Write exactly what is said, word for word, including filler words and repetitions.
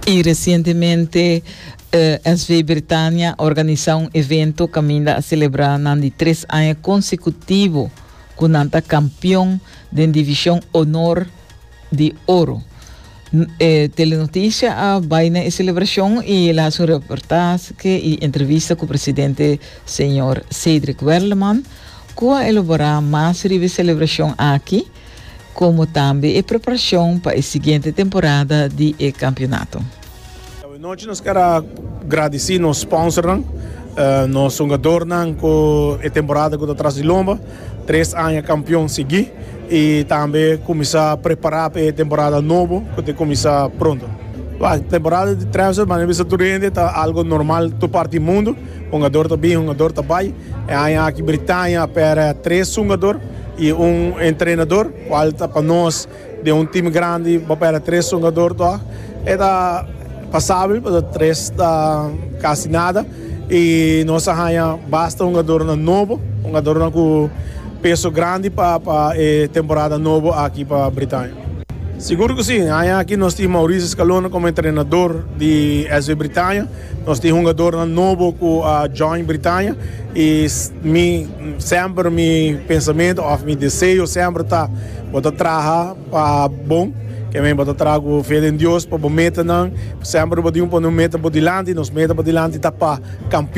I resientemente eh, S V Britannia a organisá un evento kaminda a selebrá nan di tres aña konsekutivo ku nan ta kampeon di divishon honor di oro. N- Eh, Telenotisia a bai na e selebrashon i el a hasi un reportahe i entrevista ku e presidente, señor Cedric Werleman, ku a elaborá mas riba e selebrashon aki, komo tambe e preparashon pa e siguiente temporada di e kampeonato. Anochi nos ke gradisí nos sponsornan, uh, nos hungadónan ku e temporada ku ta tras di lomba, tres aña kampeon siguí i tambe kuminsá prepará pa e temporada nobo ku ta kuminsá pronto. E temporada di transfer, mas bisa tur ta algu normal tur parti di mundu. Hungadó ta bin, hungadó ta bai. E aña aki Britannia a pèrdè tres hungadó i un entrenadó, kual ta pa nos di un tim grandi, pa pèrdè tres hungadó, ta? E ta pasabel, mas tres ta kasi nada. I nos a haña basta hungadó nobo, hungadó ku peso grandi pa e temporada nobo aki pa Britannia. Sigur ku si. Aki nos tin Mauricio Scalona komo entrenadó di S V Britannia. Nos tin hungadó nobo ku a join Britannia. I mi, semper mi pensamentu, òf mi deseo semper ta bo ta traha pa bon, ke men bo ta traha ku fe den Dios pa bo metanan. Semper bo tin un meta pa dilanti, nos meta pa dilanti ta pa kampeon.